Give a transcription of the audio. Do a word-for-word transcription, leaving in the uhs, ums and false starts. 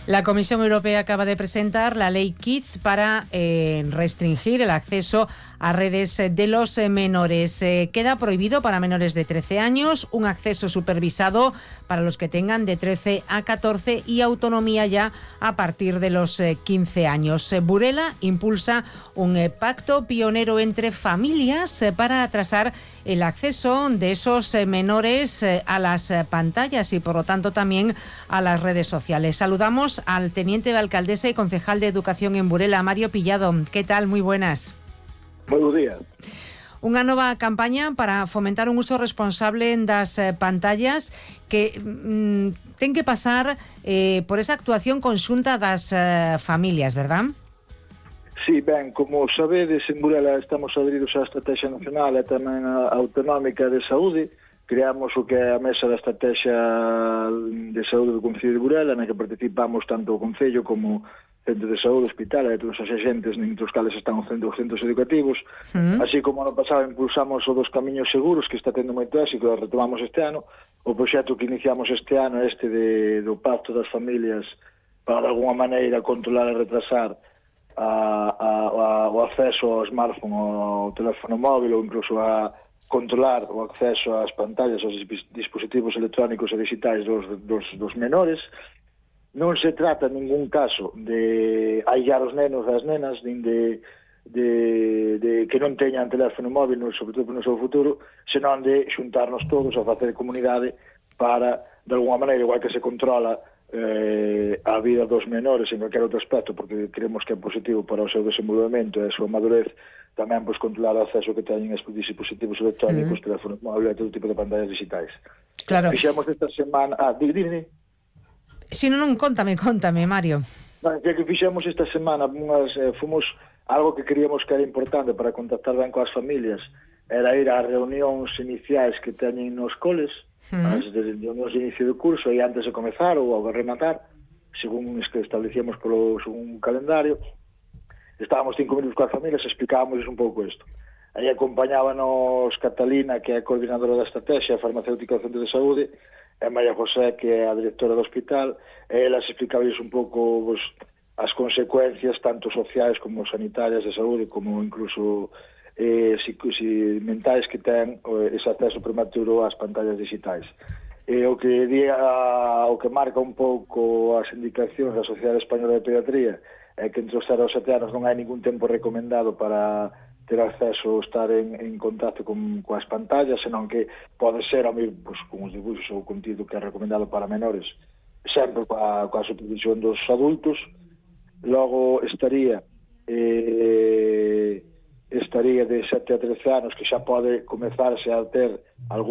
La Comisión Europea acaba de presentar la Ley Kids para eh, restringir el acceso a redes de los menores. Eh, queda prohibido para menores de trece años un acceso supervisado para los que tengan de trece a catorce y autonomía ya a partir de los eh, quince años. Eh, Burela impulsa un eh, pacto pionero entre familias eh, para atrasar el acceso de esos eh, menores eh, a las eh, pantallas y por lo tanto también a las redes sociales. Saludamos al teniente de alcaldesa y concejal de Educación en Burela, Mario Pillado. ¿Qué tal? Muy buenas. Moi bo día. Unha nova campaña para fomentar un uso responsable das eh, pantallas que mm, ten que pasar eh, por esa actuación conxunta das eh, familias, verdad? Sí, ben, como sabedes, en Burela estamos adheridos á Estrategia Nacional e tamén a Autonómica de Saúde. Creamos o que é a Mesa da Estrategia de Saúde do Concello de Burela, na que participamos tanto o Concello como centro de saúde, hospital e todos os agentes entre os cales están os centros, os centros educativos. Mm. Así como ano pasado impulsamos o dos camiños seguros, que está tendo moito éxito, e retomamos este ano. O proxecto que iniciamos este ano, este de, do Pacto das Familias, para de alguma maneira controlar e retrasar a, a, a, o acceso ao smartphone, ao teléfono móvil, ou incluso a controlar o acceso ás pantallas, aos dispositivos electrónicos e digitais dos, dos, dos menores. Non se trata en ningún caso de aillar os nenos e as nenas, nin de, de, de que non teñan teléfono móvil, sobre todo no seu futuro, senón de xuntarnos todos a facer comunidade para, de alguma maneira, igual que se controla eh, a vida dos menores en calquer outro aspecto, porque creemos que é positivo para o seu desenvolvemento e a súa madurez, tamén pois, controlar o acceso que teñen aos dispositivos electrónicos, mm. teléfonos móviles e todo tipo de pantallas digitais. Claro. Fixemos esta semana... Ah, di, di, di. Si non, non, contame, contame, Mario. Bueno, que fixemos esta semana, unhas, eh, fomos algo que queríamos que era importante para contactar ben coas familias, era ir ás reunións iniciais que teñen nos coles, mm. as de reunións de inicio do curso, e antes de comezar ou ao rematar, según es que establecíamos polo según calendario. Estábamos cinco minutos coas familias e explicábamos un pouco isto. Aí acompañábanos Catalina, que é a coordinadora da estrategia farmacéutica do Centro de Saúde, e María José, que é a directora do hospital, e elas explicaban un pouco pues, as consecuencias tanto sociais como sanitarias de saúde, como incluso eh, si, si mentais que ten eh, ese acceso prematuro ás pantallas digitais. E o que diga, o que marca un pouco as indicacións da Sociedade Española de Pediatría é que entre os cero e os sete anos non hai ningún tempo recomendado para ter acceso ou estar en, en contacto con, coas pantallas, senón que pode ser a mí, pues, con os dibuixos ou contido que é recomendado para menores, sempre coa, coa supervisión dos adultos. Logo estaría eh, estaría de sete a trece anos, que xa pode comezarse a ter algún